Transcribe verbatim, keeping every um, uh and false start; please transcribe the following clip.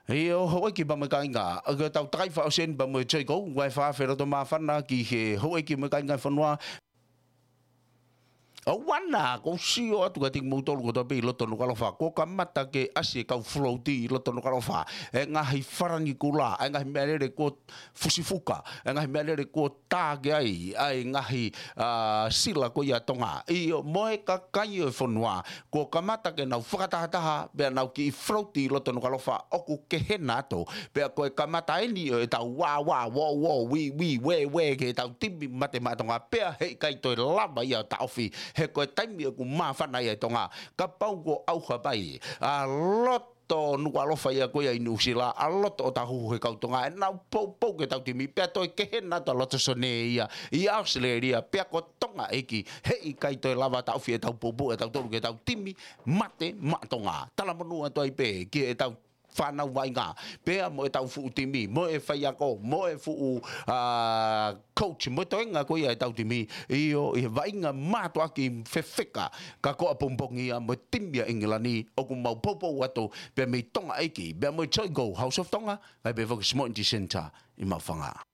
ʻIo, houʻeiki pea mo e kāinga, ʻoku tau takai fakaʻosi eni pea mo e Joy Go, ʻa e fakafeʻiloto māfana ki he houʻeiki mo e kāinga e fonua. ʻOua naʻa kou sio atu kiate kimoutolu kotoa pē ʻi loto Nukuʻalofa. Kuo kamata ke ʻasi e kau floaty ʻi loto Nukuʻalofa. E ngaahi falanikula, e ngaahi meʻalele kuo fusifuka, e ngaahi meʻalele kuo tā ki ai ʻa e ngaahi, ā, sila ko ia ʻa Tonga. ʻIo, mo e kakai ʻo e fonua, kuo kamata ke nau fakatahataha, pea nau kiʻi floaty ʻi loto Nukuʻalofa, ʻoku kehe naʻa to. Pea ko e kamata eni ʻo ʻetau wā, wā, wō, wō, wī, wī, wē, wē, ki heʻetau timi mate maʻa Tonga, pea heʻikai toe lava ia ʻo taʻofi, he ko e taimi ʻoku māfana ai ʻa Tonga, kapau kuo ʻauha mai ʻa loto Nukuʻalofa ia ko ia ʻi Nuʻusila, ʻa loto ʻo tahuhu he kau Tonga, ʻenau poupou ki heʻetau timi, pea toe kehe naʻa to ʻa loto Sone ia ʻi ʻAositelēlia, pea ko Tonga ʻEiki, heʻikai toe lava taʻofi ʻetau poupou ʻatautolu ki heʻetau timi mate maʻa Tonga. Talamonū atu ai pē ki heʻetau fānau vaʻinga, pea mo ʻetau fuʻu timi, mo e faiako, mo e fuʻu, ā, coach, mo e toenga ko ia ʻetau timi, ʻio, ʻi he vaʻinga mātuʻaki fefeka, ka ko ʻapongipongi ia mo e timi ʻa ʻIngilani, ʻoku mau poupou atu, pea mei Tonga ʻEiki, pea mo e Joy Go, House of Tonga, kae pehē foki Small Engine Centre, ʻi Maʻufanga.